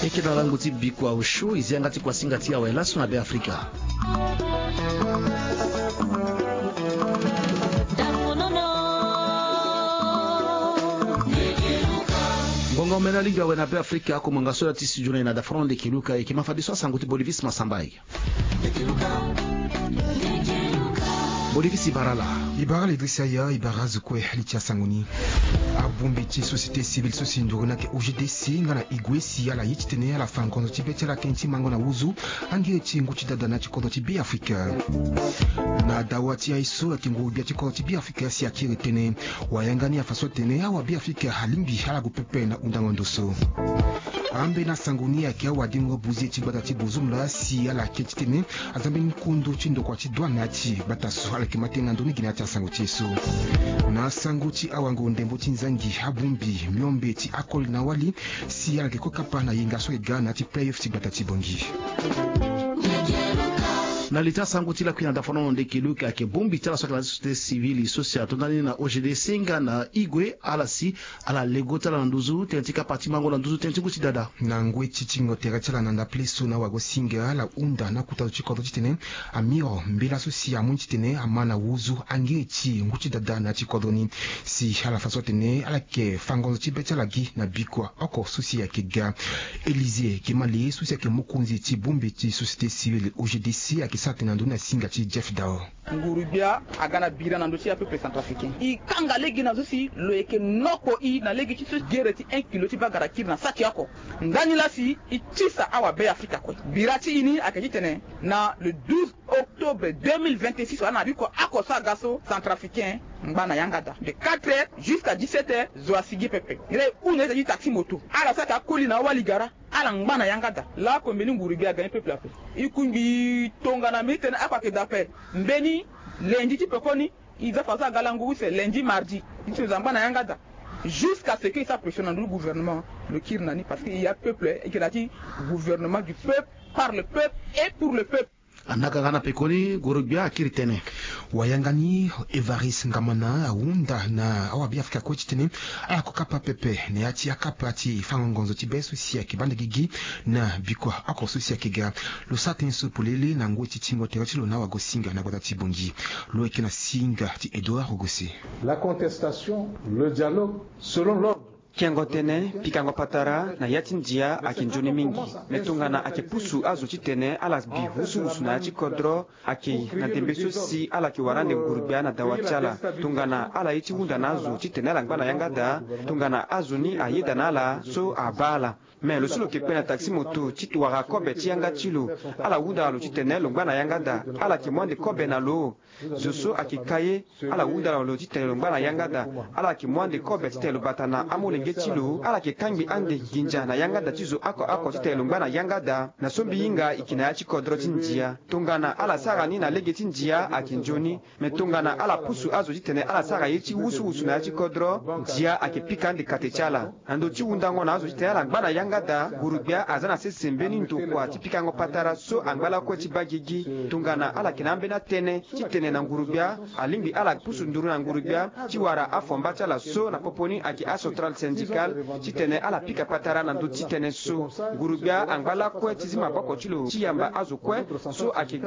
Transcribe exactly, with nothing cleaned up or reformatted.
Eke na lango ti bikua osio e zi yanga ti kuasinga ti awe laso na Be Afrika. Ngonga omena lingbi awe na Be Afrika, ako monga so ya ti studio na e na dafono nde keluka eke ma fadeso asango ti Bolivis Masambai. Bolivis, e bara ala. E bara ala Idrissa Yaya, e bara azo kue li ti asango ni. Abongbi ti société civile so si nduru ni ayeke O G D C nga na Igwe si ala ye titene ala fa ngonzo ti be ti ala tënë ti mango na wuzu angiri ti ngu ti dada na ya ti kodro ti Be Afrika. Na dawa ti aye so ayeke nguru-gbia ti kodro ti Be Afrika si akiri tënë. Wayanga ni afa so atene awa Be Afrika alingbi ala gue pepe na hundango ndo so. Ambeni asango ni ayeke awa dingo buze ti gbata ti Buzoum laa si ala yeke titene aza mbeni kundu ti ndokua ti douane na ya ti gbata so. Ala yeke ma tënë na ndoni gi na ya ti asango ti e so. Na sango ti awango ndembo ti nzangi, abongbi miombe ti akoli na wali si ala yeke kue kapa na yenga so ayeke ga na ya ti play-off ti gbata ti Bangui. Na li ti asango ti lakui na dafono nde keluka ayeke bongbi ti ala so ayeke na société civile so si atonda ni na O G D C nga na Igwe, ala si ala lego ti ala na nduzu tënë ti kapa ti mango na nduzu tënë ti ngu ti dada. Na ngoi ti tingo tere ti ala na ndapele so na wagosinga, ala hunda na kota zo ti kodro titene amiro mbela so si amu ni titene ama na wuzu angiri ti ngu ti dada na ya ti kodro ni. Si ala fa so atene ala yeke fa ngonzo ti be ti ala gi na bikua oko so si ayeke ga. Élisée Kemale so si ayeke mokonzi ti bongbi ti société civile O G D C ayeke sara tënë na ndoni na singa ti Jeff Dao. Nguru-gbia aga na bira na ndö ti apeuple centrafricain. E kanga lege na zo si lo yeke noko e na lege ti so gere ti un kilo ti bagara kiri na sa ti oko. Ndani laa si e tisa awa Be Afrika kue. Bira ti e ni ayeke titene na le douze octobre deux mille vingt-six wala na biko oko so aga so, centrafricain ngba na yanga daa de quatre heures jusqu'à dix-sept heures, zo asigi pepe. Re hunda ita ti taxi moto. Ala so ayeke akoli na awali gara. Ala ngba na yanga daa. Laoko mbeni nguru-gbia aga ni peuple ape. E kungbi tongana mbeni tënë oko ayeke daa ape. Mbeni lundi ti pekoni, e za fa so aga lango use lundi, mardi. E tene zo angba na yanga daa. Jusqu'à ce que e sara pression na ndö ti gouvernement, lo kiri na ni parce que e ya peuple, e yeke na ya ti gouvernement du peuple, par le peuple et pour le peuple. Anaka nga na pekoni, nguru-gbia akiri tënë. Wayanga ni Évariste Ngamana ahunda na awa Be Afrika kue titene ala ko kapa pepe na ya ti akapa ti fango ngonzo ti be so si ayeke baa nde gigi na bikua oko so si ayeke ga. Lo sara tënë so polele na ngoi ti tingo tere ti lo na wagosinga na gbata ti Bangui. Lo yeke na singa ti Edouard Ogose. La contestation, le dialogue, selon l'ordre. Kengo tënë, pikango patara na ya ti ndia ayeke nzoni mingi. Me tongana ayeke pusu azo titene ala bi wusuwusu na ya ti kodro, ayeke na ndembe so si ala yeke wara ande nguru-gbia na dawa ti ala. Tongana ala ye ti hunda na azo titene ala ngba na yanga daa, tongana azo ni ayeda na ala so abaa ala. Me lo so lo yeke kpe na taxi moto ti wara kobe ti yanga ti lo, ala hunda na lo titene lo ngba na yanga daa, ala yeke mu ande kobe na lo. Zo so ayeke ka ye, ala hunda na lo titene lo ngba na yanga daa. Ala yeke mu ande kobe titene lo bata na amolenge ti lo. Ala yeke kangbi ande nginza na yanga daa ti zo oko oko titene lo ngba na yanga daa. Na so mbi hinga e yeke na ya ti kodro ti ndia. Tongana ala sara ni na lege ti ndia ayeke nzoni. Me tongana ala pusu azo titene ala sara ye ti wusuwusu na ya ti kodro, ndia ayeke pika ande kate ti ala. Na ndö ti hundango na azo titene ala ngba na yanga daa, nguru-gbia aza na sese mbeni ndokua ti pikango patara so angba lakue ti baa gigi. Tongana ala yeke na ambeni atënë titene na nguru-gbia alingbi ala pusu nduru na nguru-gbia ti wara afomba ti ala so na popo ni ayeke acentrale syndicale titene ala pika patara na ndö ti tënë so. Nguru-gbia angba lakue ti zi maboko ti lo ti yamba azo kue so ayeke